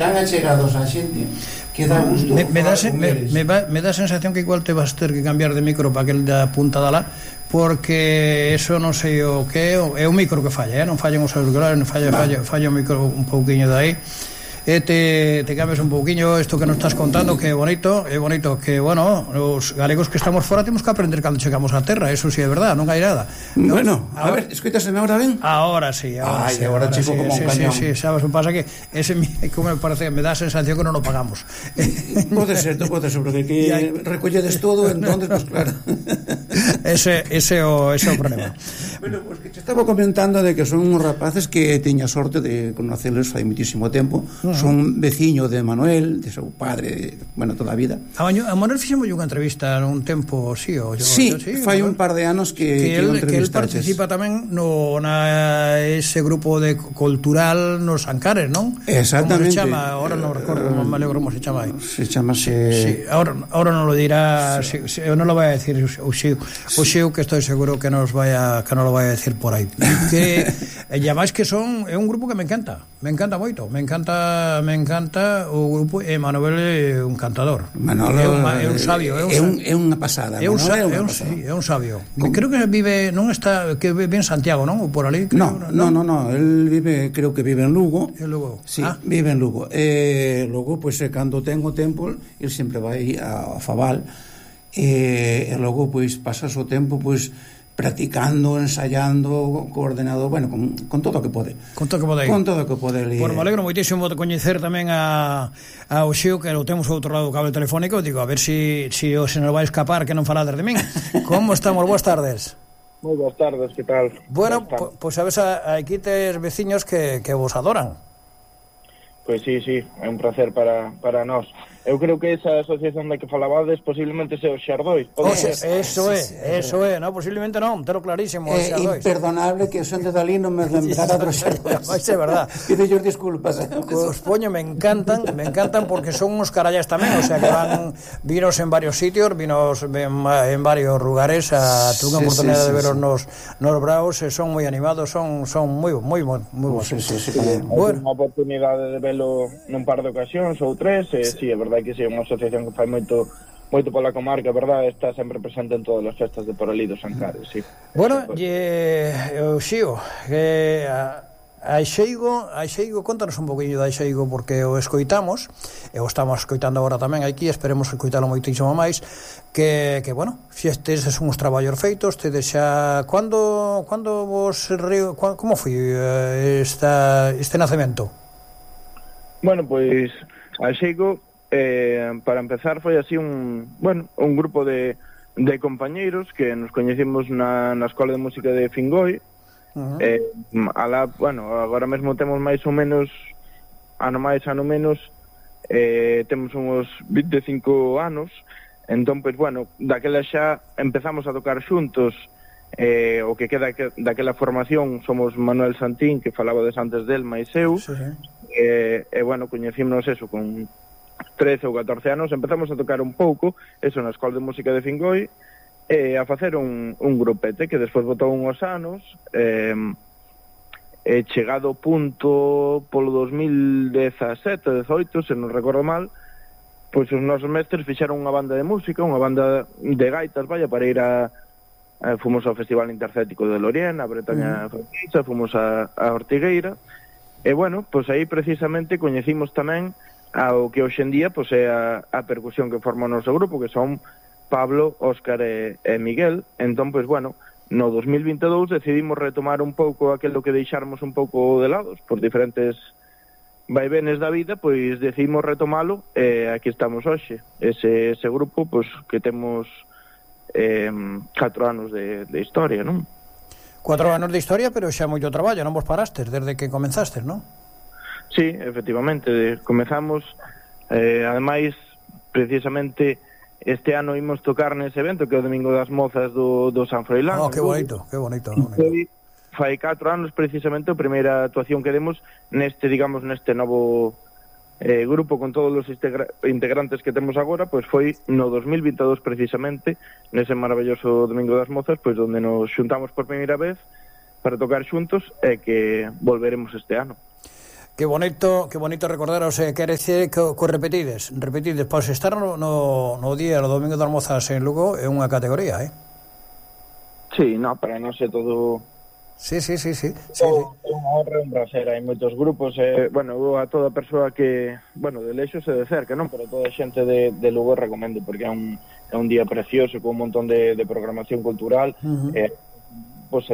tan achegados á xente que dá gusto. Me dá a sensación que igual te vas ter que cambiar de micro para aquel da punta da lá, porque eso non sei o que é o micro que falla, non fallan os auriculares, falla o micro un pouquiño de aí. Te cambias un pouquiño isto que nos estás contando, que é bonito que, bueno, os galegos que estamos fora temos que aprender cando chegamos á terra, eso si é verdad, non hai nada. Bueno, a ver, escoitaseme ahora ben? Ahora sí, agora chico como un cañón. Sí, sabes, me pasa que ese, como me parece, me dá a sensación que non o pagamos. Pode ser, porque que recolledes todo, entonces, pues claro. Ese é o problema. Bueno, pues que te estaba comentando de que son uns rapaces que teña sorte de conocerles fai muitísimo tempo. Son veciño de Manuel, de seu padre, bueno, toda a vida. A Manuel fixemos unha entrevista nun tempo, sí, fai un par de anos que el participa tamén ese grupo de cultural nos Ancares, non? Exactamente. Como se chama? Ahora non recordo, me alegro como se chama aí. Se chamase... Sí, ahora non lo dirá, non lo vai a decir o Xiu, que estou seguro que non lo vai a decir por aí. Que máis que é un grupo que me encanta moito, me encanta o grupo, e Manuel é un cantador. Manolo é un sabio, é unha pasada. É un sabio. Creo que vive en Santiago, non? Ou por ali. No, el creo que vive en Lugo. Sí, vive en Lugo. Logo, pois, cando tengo tempo, el sempre vai a Fabal, e logo, pois, pasas o tempo, pois, practicando, ensayando, coordenado, bueno, con todo o que pode. Con todo o que pode. Por me alegro moitísimo de coñecer tamén ao Xiu, que lo temos ao outro lado do cable telefónico. Digo, a ver se nos vai escapar que non falades de min. Como estamos? Boas tardes. Moi boas tardes, que tal? Bueno, pois sabes, aquí tes veciños que vos adoran. Pois sí, é un placer para nós. Eu creo que esa asociación da que falabades posiblemente sea os Xardóis. Eso é, no, posiblemente non, telo clarísimo. É imperdonable que son de Dalí non me lembrara dos Xardóis. Vai ser verdad. Pido disculpas. Os poño, me encantan porque son uns carallas tamén, o sea que vinos en varios sitios, vinos en varios lugares, tuve unha oportunidade de veros nos Braus, son moi animados, son moi bons. Bueno, unha oportunidade de velo nun par de ocasións ou tres, sí, é verdade que é unha asociación que fai moito pola comarca, verdade, está sempre presente en todas as festas de por ali dos Ancares, sí. Bueno, Xío, a Xeigo, contanos un poquinho da Xeigo, porque o escoitamos, e o estamos escoitando agora tamén aquí, esperemos escoitalo moitísimo máis, que bueno, estes son uns traballos feitos, tedes xa, cando vos como foi este nacemento? Bueno, pois, a Xeigo, para empezar, foi así un grupo de compañeiros que nos coñecimos na Escola de Música de Fingoi. Agora mesmo temos máis ou menos, ano máis, ano menos, temos uns 25 anos, entón, pois, bueno, daquela xa empezamos a tocar xuntos. O que queda daquela formación somos Manuel Santín, que falabades antes del, máis eu, bueno, coñecímonos eso con 13 ou 14 anos, empezamos a tocar un pouco, eso, na Escola de Música de Fingoi, a facer un grupete que despois botou uns anos, chegado o punto polo 2017, 18, se non recordo mal, pois os nosos mestres fixeron unha banda de música, unha banda de gaitas, para ir fomos ao Festival Intercético de Lorient, a Bretaña Francesa, fomos a Ortigueira, e bueno, pois aí precisamente coñecimos tamén ao que hoxe en día pois é a percusión que forma o noso grupo, que son Pablo, Óscar e Miguel. Entón, pois, bueno, no 2022 decidimos retomar un pouco aquilo que deixáramos un pouco de lados por diferentes vaivenes da vida, pois decidimos retomalo e aquí estamos hoxe. Ese grupo, pois, que temos 4 anos de historia, non? 4 anos de historia, pero xa moito traballo, non vos parastes desde que comenzastes, non? Sí, efectivamente, comezamos, ademais, precisamente, este ano imos tocar nese evento, que é o Domingo das Mozas do San Froilán. Que bonito. Fai 4 anos, precisamente, a primeira actuación que demos neste novo grupo con todos os integrantes que temos agora, pois foi no 2022, precisamente, nese maravilloso Domingo das Mozas, pois onde nos xuntamos por primeira vez para tocar xuntos e que volveremos este ano. Que bonito recordar, o sea, quere decir que repetides, pois estar no día, no domingo de Almozas en Lugo é unha categoría, Sí, no, para nós é todo... Sí. É unha honra, un prazer, hai moitos grupos, bueno, a toda persoa que, bueno, de lexos e de cerca, non? Pero toda a xente de Lugo recomendo, porque é un día precioso, con un montón de programación cultural, pois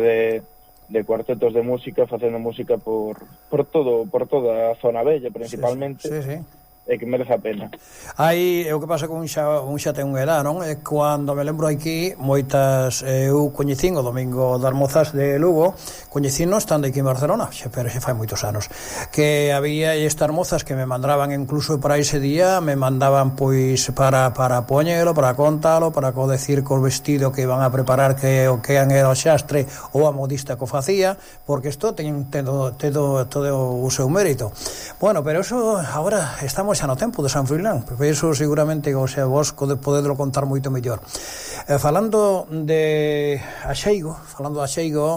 de cuartetos de música, facendo música por toda a zona bella, principalmente. Sí. É que merece a pena. Aí, o que pasa con un xa ten unha edad, non? É cando me lembro aquí, moitas, eu coñecín o domingo de Almozas de Lugo, coñecín estando aquí en Barcelona, pero xa fai moitos anos, que había estas mozas que me mandaban incluso para ese día, me mandaban pois para poñelo, para contalo, para decir co vestido que iban a preparar, que era o xastre ou a modista que o facía, porque isto ten todo o seu mérito. Bueno, pero eso, agora estamos xa no tempo de San Froilán, porque iso seguramente, o sea, vos podedelo contar moito mellor. Falando de Axeigo,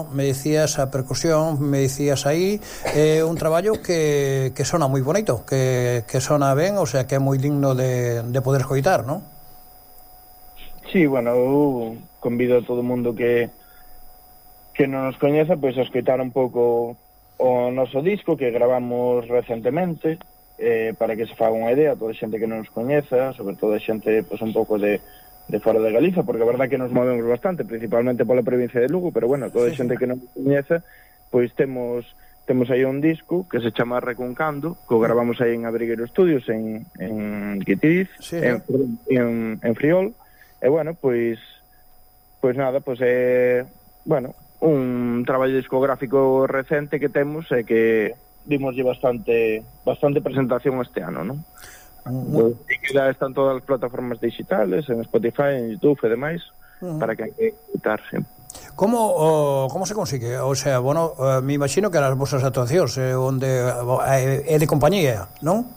me dicías a percusión, me dicías aí, un traballo que sona moi bonito, que sona ben, o sea, que é moi digno de poder escoitar, non? Sí, bueno, eu convido a todo o mundo que non nos coñeza, pois a escoitar un pouco o noso disco que gravamos recentemente, para que se faga unha idea, toda a xente que non nos coñeza, sobre todo a xente pois, un pouco de fora de Galiza, porque a verdad que nos movemos bastante, principalmente pola provincia de Lugo, pero bueno, toda a xente que non nos coñeza, pois temos aí un disco que se chama Recuncando, que o gravamos aí en Abrigueiro Studios, en Quitiz, en Friol, e bueno, pois nada, pois é, bueno, un traballo discográfico recente que temos e que dimoslle bastante presentación este ano, non? E que ya están todas as plataformas digitales, en Spotify, en YouTube e demais, para que hai que escutar, sí. Como se consigue? O sea, bueno, me imagino que as vosas actuacións onde é de compañía, non?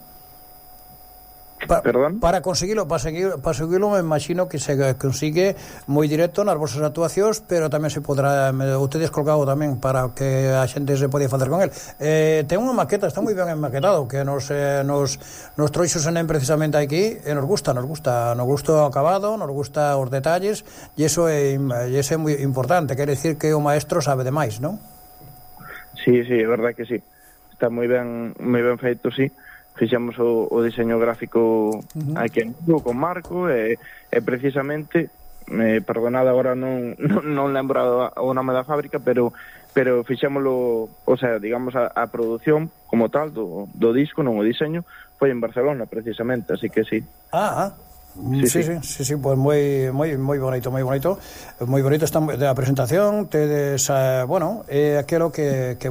Perdón? Para conseguilo me imagino que se consigue moi directo nas vosas actuacións, pero tamén se podrá, ustedes colgado tamén para que a xente se podía facer con el. Ten unha maqueta, está moi ben maquetado, que nos troixos en precisamente aquí, e nos gusta o acabado, nos gusta os detalles, e iso é moi importante, quere decir que o maestro sabe demais, non? Sí, é verdad que sí. Está moi ben feito, sí. Fixemos o diseño gráfico aquí en Lugo con Marco e precisamente, perdonad agora non lembro o nome da fábrica, pero fixémoslo, o sea, digamos a produción como tal do disco, non o diseño, foi en Barcelona precisamente, así que sí. Sí, pues moi bonito, esta a presentación, tedes, bueno, aquilo que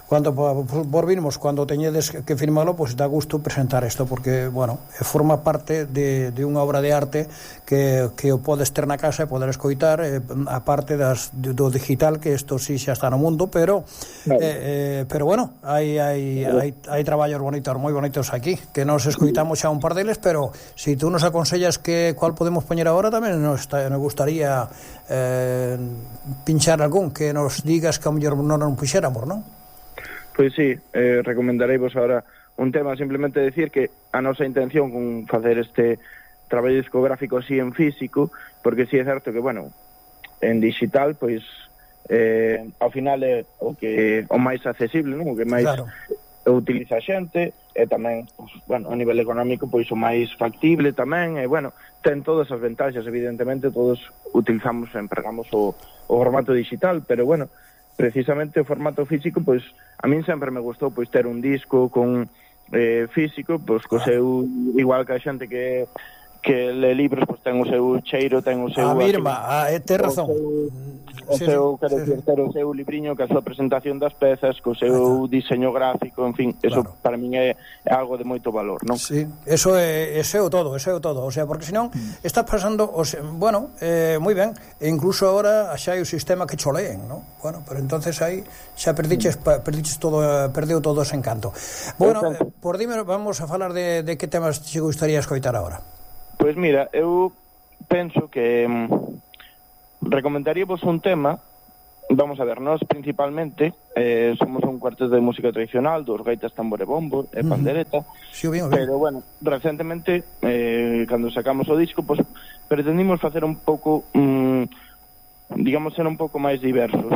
cuando volvimos, cuando teñedes que firmalo, pues dá gusto presentar isto, porque, bueno, forma parte de unha obra de arte que o podes ter na casa e poder escoitar, a parte do digital, que isto sí xa está no mundo, pero bueno, hai traballos bonitos, moi bonitos aquí, que nos escoitamos xa un par deles, pero si tú nos aconsellas que cual podemos poñer agora, tamén nos gustaría pinchar algún, que nos digas que a mellor non nos puxéramos, non? Pois sí, recomendarei vos ahora un tema, simplemente decir que a nosa intención con facer este traballo discográfico así en físico, porque sí é certo que, bueno, en digital, pois, ao final é o máis accesible, non? O que máis utiliza a xente, e tamén, pois, bueno, a nivel económico, pois o máis factible tamén, e, bueno, ten todas as ventaxas, evidentemente, todos utilizamos, empregamos o formato digital, pero, bueno, precisamente o formato físico, pois a min sempre me gustou pois ter un disco con físico, pois co seu, igual que a xente que le libros, pois ten o seu cheiro, ten o seu ten razón. O seu libriño, que a súa presentación das pezas, co seu diseño gráfico, en fin, eso para min é algo de moito valor, non? Sí, eso é o todo, o sea, porque senón estás pasando, bueno, moi ben, e incluso agora xa hai o sistema que choleen, non? Bueno, pero entonces aí xa perdiches todo, perdeu todo ese encanto. Bueno, por dime, vamos a falar de que temas te gustaría escoitar agora. Pois mira, eu penso que recomendaríavos un tema Vamos a ver, nós principalmente somos un cuarteto de música tradicional, dos gaitas, tambor e bombo e pandereta, sí, bien. Pero bueno, recentemente cando sacamos o disco, pues, pretendimos facer un pouco digamos, ser un pouco máis diversos.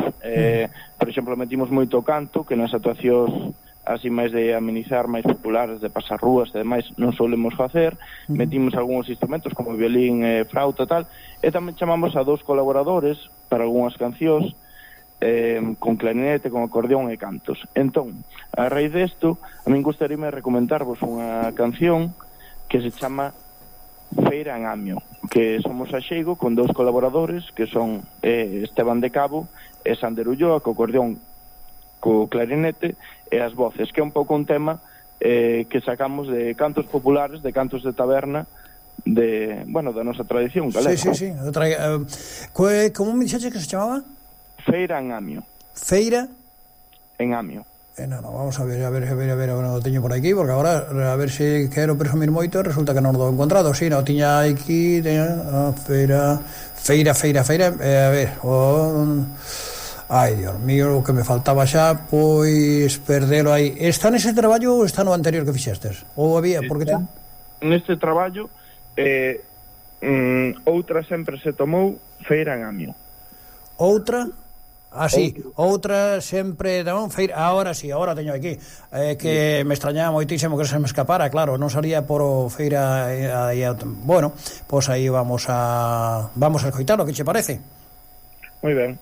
Por exemplo, metimos moito canto, que nas actuacións así máis de amenizar, máis populares, de pasar rúas e demais, non solemos facer. Metimos algúns instrumentos como violín e flauta e tal, e tamén chamamos a 2 colaboradores para algunhas cancións, con clarinete, con acordeón e cantos. Entón, a raíz desto, a min gustaríame recomendarvos unha canción que se chama Feira en Amio, que somos a xeigo con 2 colaboradores que son Esteban de Cabo e Sander Ulloa, co acordeón, co clarinete e as voces, que é un pouco un tema que sacamos de cantos populares, de cantos de taberna, de, bueno, da nosa tradición galega. Sí. Como me dixaste que se chamaba? Feira en Amio. Feira en Amio. No, vamos a ver, non o teño por aquí, porque agora a ver se quero presumir moito, resulta que non o encontrado. Si, non tiña aquí, feira, a ver, ai, Dios mío, o que me faltaba xa, pois perdelo aí. Está nese traballo ou está no anterior que fixestes? Ou había, porque neste traballo outra sempre se tomou Feira en Amio. Outra? Sí, outra sempre non, feira, ahora sí, ahora teño aquí, que me extrañaba moitísimo que se me escapara, claro, non salía por o feira, bueno, pois aí vamos a escoitar o que che parece. Moi ben.